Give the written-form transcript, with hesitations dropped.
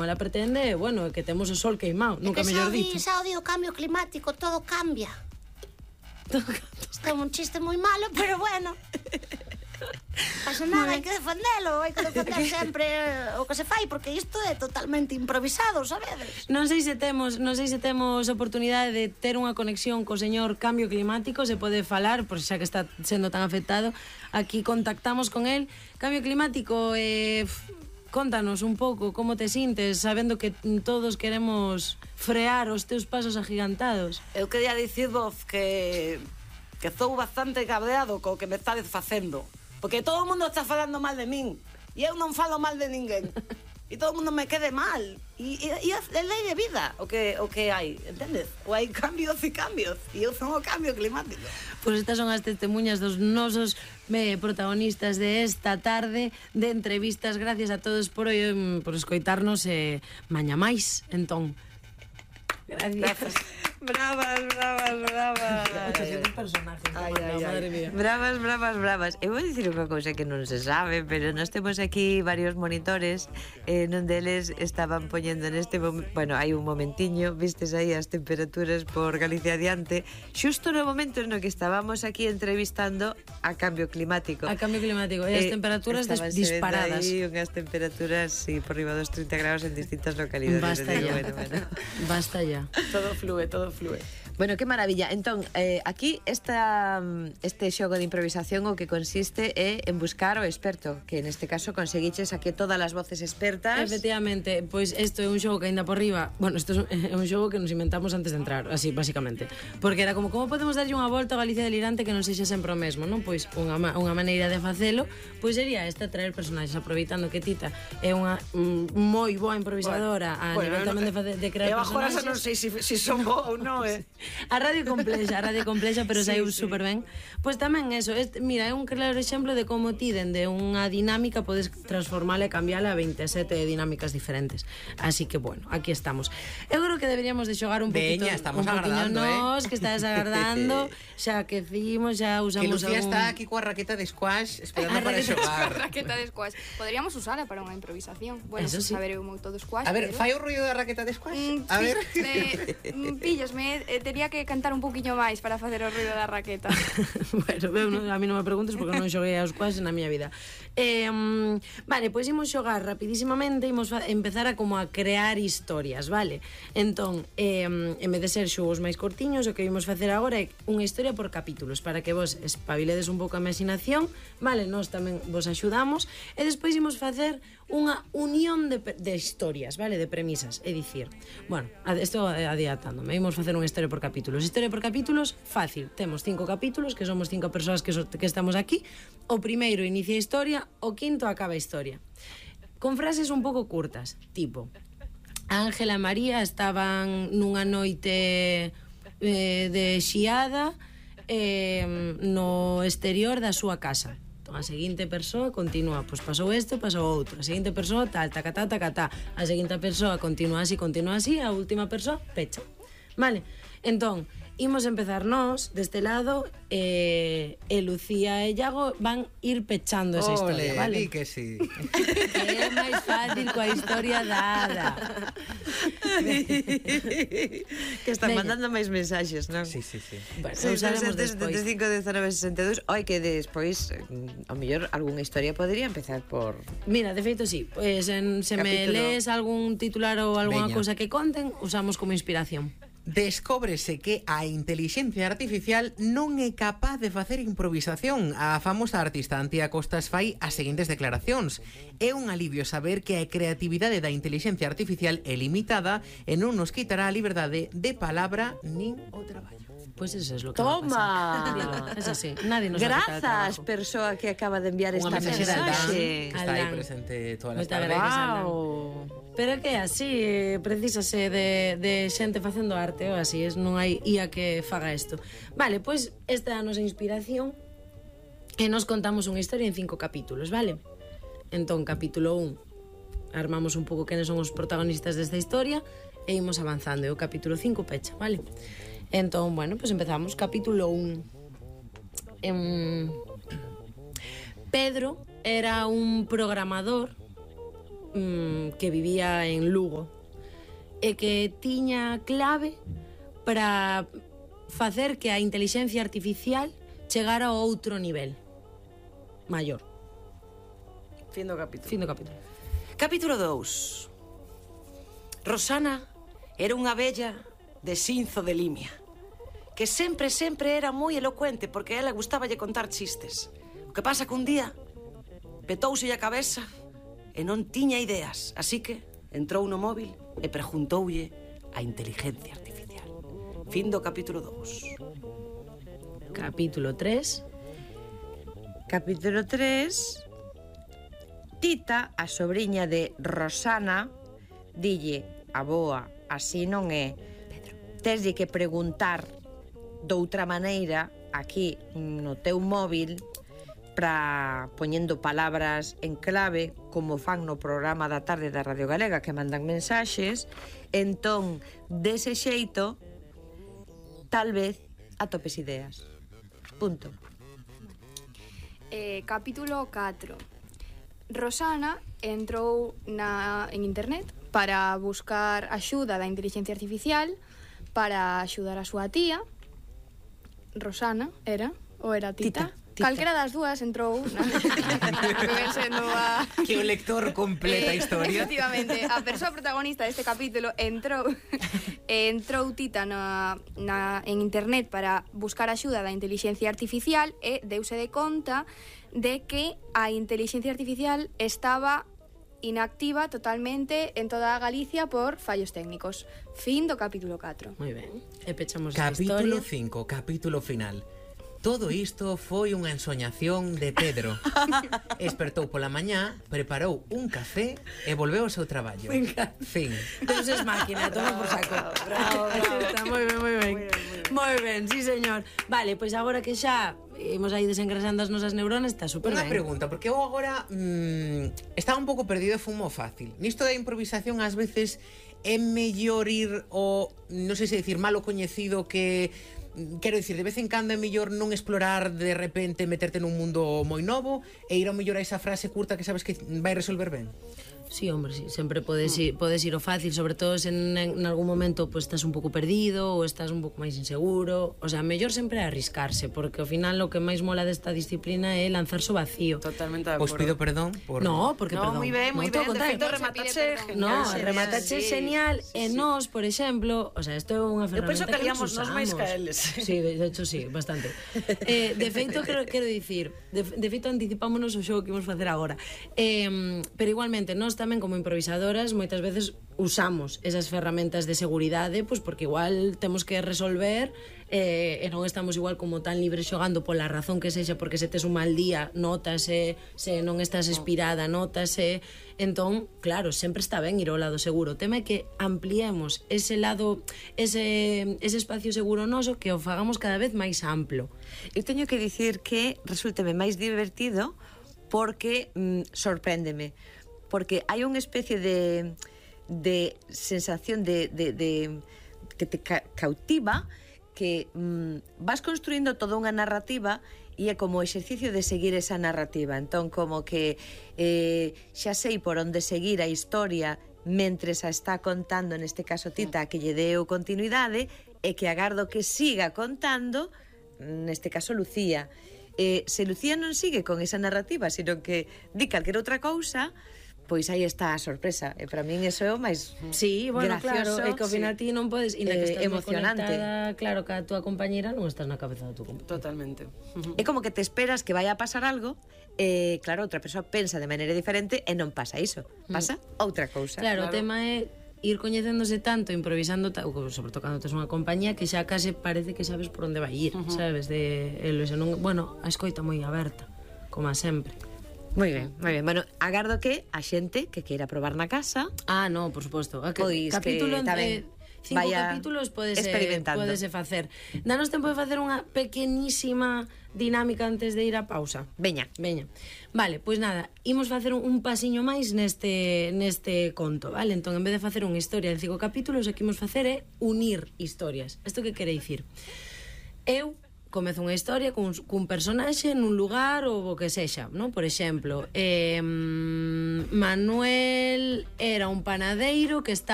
Ela pretende, bueno, que temos o sol queimado, nunca mellor dito. Xa odio o cambio climático, todo cambia. Isto é un chiste moi malo, pero bueno. Pasa nada, hai que defendelo, hai que defender sempre o que se fai, porque isto é totalmente improvisado, sabedes? Non sei se temos oportunidade de ter unha conexión co señor Cambio Climático, se pode falar, por xa que está sendo tan afectado, aquí contactamos con el. Cambio Climático, contanos un pouco como te sintes sabendo que todos queremos frear os teus pasos agigantados. Eu quería dicirvos que estou bastante cabreado co que me estades facendo, porque todo o mundo está falando mal de min e eu non falo mal de ninguén e todo o mundo me quede mal e é lei de vida o que hai, entendes? Ou hai cambios e cambios e eu son o cambio climático. Pois estas son as testemunhas dos nosos protagonistas de esta tarde de entrevistas. Gracias a todos por escoitarnos maña máis, entón. Gracias. Bravas. Bravas. Eu vou dicir unha cousa que non se sabe, pero nós temos aquí varios monitores, non deles estaban poñendo neste momento, bueno, hai un momentiño, vistes aí as temperaturas por Galicia adiante, xusto no momento no que estábamos aquí entrevistando a Cambio Climático. A Cambio Climático, e as temperaturas disparadas. Aí unhas temperaturas, sí, por riba dos 30 graus en distintas localidades. Basta ya. Basta ya. Todo flúe. Bueno, que maravilla. Entón, aquí este xogo de improvisación o que consiste é en buscar o experto, que neste caso conseguiches aquí todas as voces expertas. Efectivamente, pois isto é un xogo que ainda por riba, bueno, isto é un xogo que nos inventamos antes de entrar, así, basicamente. Porque era como podemos darlle unha volta a Galicia delirante que non sexa sempre o mesmo, non? Pois unha maneira de facelo, pois sería esta, traer personaxes, aproveitando que Tita é unha moi boa improvisadora a nivel tamén de crear personaxes. Eu agora non sei se son boa ou non, A radio complexa, pero saiu super ben. Pois tamén eso, mira, é un claro exemplo de como ti dende unha dinámica podes transformala e cambiala a 27 dinámicas diferentes. Así que, bueno, aquí estamos. Eu creo que deberíamos de xogar un poquito. Veña, estamos agardando, que estás agardando, xa que cimos, xa usamos que Lucía está aquí coa raqueta de squash esperando para xogar. Raqueta de squash. Poderíamos usala para unha improvisación. Bueno, eso sí. Saber eu moito de squash. A ver, fai o ruido da raqueta de squash. A ver. Píllasme, tería que cantar un poquinho máis para facer o ruido da raqueta. Bueno, a mí non me preguntes porque non xoguei aos squash na miña vida. Vale, pois imos xogar rapidísimamente, imos empezar a crear historias, vale? Entón, en vez de ser xogos máis cortiños, o que imos facer agora é unha historia por capítulos, para que vos espabiledes un pouco a imaginación, vale? Nós tamén vos axudamos, e despois imos facer unha unión de historias, vale? De premisas, é dicir, bueno, estou adiantándome, imos facer unha historia por capítulos. Historia por capítulos, fácil, temos 5 capítulos, que somos 5 persoas que estamos aquí, o primeiro inicia a historia, o quinto acaba a historia. Con frases un pouco curtas, tipo, Ángela e María estaban nunha noite de xiada no exterior da súa casa. A seguinte persoa continúa, pois pasou este, pasou outro. A seguinte persoa tal, tacatá, tacatá. A seguinte persoa continúa así, a última persoa pecha. Vale? Entón, imos empezar nós deste lado e Lucía e Iago van ir pechando esa historia, vale? Di que sí. Que é máis fácil coa historia dada. Que están mandando máis mensaxes, non? Sí. Bueno, usaremos despois. 75 19 62. Oi, que despois ao mellor algunha historia podría empezar por... Mira, de feito sí, pues, se me lees algún titular ou algunha cousa que conten, usamos como inspiración. Descóbrese que a intelixencia artificial non é capaz de facer improvisación. A famosa artista Antía Costas fai as seguintes declaracións. É un alivio saber que a creatividade da intelixencia artificial é limitada e non nos quitará a liberdade de palabra nin o traballo. Pues eso es lo que va a pasar. Es así, nadie nos va a quitar el trabajo. Grazas, persoa que acaba de enviar esta mensaxe. Está aí presente todas as tardes. Pero que así, precisase de xente facendo arte, ou así, non hai IA que faga isto. Vale, pois esta é a nosa inspiración e nos contamos unha historia en 5 capítulos, vale? Entón, capítulo 1, armamos un pouco quenes son os protagonistas desta historia e imos avanzando, e o capítulo 5 pecha, vale? Entón, bueno, pues empezamos. Capítulo 1. Pedro era un programador que vivía en Lugo e que tiña clave para facer que a intelixencia artificial chegara a outro nivel maior. Fin do capítulo. Fin do capítulo. Capítulo 2. Rosana era unha vella de Sinzo de Limia, que sempre era moi elocuente porque a ela gustáballe contar chistes. O que pasa que un día petouse a cabeza e non tiña ideas, así que entrou no móvil e preguntoulle a inteligencia artificial. Fin do capítulo 2. Capítulo 3. Capítulo 3. Tita, a sobrinha de Rosana, dille a boa, así non é. Teslle que preguntar doutra maneira aquí no teu móvil para poñendo palabras en clave como fan no programa da tarde da Radio Galega que mandan mensaxes. Entón, dese xeito, tal vez atopes ideas. Punto. Capítulo 4. Rosana entrou en internet para buscar axuda da inteligencia artificial para axudar a súa tía. Rosana era, ou era Tita? Calquera das dúas entrou que ven sendo a... Que o lector completa a historia. Efectivamente, a persoa protagonista deste capítulo entrou Tita en internet para buscar axuda da inteligencia artificial e deuse de conta de que a inteligencia artificial estaba inactiva totalmente en toda a Galicia por fallos técnicos. Fin do capítulo 4. Moi ben. E pechamos a Capítulo historia. 5, capítulo final. Todo isto foi unha ensoñación de Pedro. Espertou pola mañá, preparou un café e volveu ao seu traballo. Fin. Deus es máquina, toma por saco. Bravo, bravo. Está moi ben, moi ben. Moi ben, sí, señor. Vale, pois agora que xa imos aí desengrasando as nosas neuronas, está super Unha ben. pregunta, porque eu agora estaba un pouco perdido e fumo fácil. Nisto da improvisación ás veces é mellor ir o, non sei se decir, malo coñecido que... Quero dicir, de vez en cando é mellor non explorar de repente, meterte nun mundo moi novo e ir ao mellor a esa frase curta que sabes que vai resolver ben. Sí, hombre, sí, sempre podes ir ao fácil, sobre todo se en algún momento pues, estás un pouco perdido ou estás un pouco máis inseguro. O sea, mellor sempre arriscarse, porque ao final o que máis mola desta disciplina é lanzarse ao vacío. Totalmente de Os acordo. pido perdón por... No, porque No, perdón. moi ben, moi ben. De feito, rematache No, genial. rematache Sí, genial. sí, E sí. nós, por exemplo, o sea, isto é unha Eu penso ferramenta que haríamos nos nós máis usamos. que eles. Sí, de hecho sí, bastante. De feito, quero dicir, de feito anticipámonos o xogo que imos facer agora. Pero igualmente, nós tamén como improvisadoras moitas veces usamos esas ferramentas de seguridade, pois porque igual temos que resolver e non estamos igual como tan libres xogando pola razón que sexa, porque se tes un mal día nótase, se non estás inspirada nótase. Entón, claro, sempre está ben ir ao lado seguro. O tema é que ampliemos ese lado, ese espacio seguro noso, que o fagamos cada vez máis amplo. Eu teño que dicir que resulteme máis divertido porque sorpréndeme, porque hai unha especie de sensación de que te cautiva, que vas construindo toda unha narrativa e é como exercicio de seguir esa narrativa. Entón, como que xa sei por onde seguir a historia mentres a está contando, neste caso Tita, que lle deu continuidade, e que agardo que siga contando, neste caso Lucía. Se Lucía non sigue con esa narrativa, sino que di calquera outra cousa, pois aí está a sorpresa. E para min eso é o máis Sí, bueno, gracioso, claro, é que ao final ti non podes, inda que estás emocionante. conectada, claro, que a túa compañera non estás na cabeza da túa compañera. Totalmente. É como que te esperas que vaya a pasar algo e, claro, outra persoa pensa de maneira diferente e non pasa iso. Pasa outra cousa. Claro, o tema é ir coñecéndose tanto, improvisando, sobre todo cando tes unha compañía que xa case parece que sabes por onde vai ir, sabes? Bueno, a escoita moi aberta, como a sempre. Moi ben, moi ben. Bueno, agardo que a xente que queira probar na casa, Ah, no, por suposto. Pois Capítulo que tamén 5 vaya capítulos podese experimentando. facer. Danos tempo de facer unha pequenísima dinámica antes de ir a pausa. veña. Vale, pois nada, imos facer un pasiño máis neste conto, vale? Entón, en vez de facer unha historia en 5 capítulos, o que imos facer é unir historias. Isto que quere dicir? Eu comeza unha historia cun personaxe nun lugar ou o que sexa, non? Por exemplo, Manuel era un panadeiro que estaba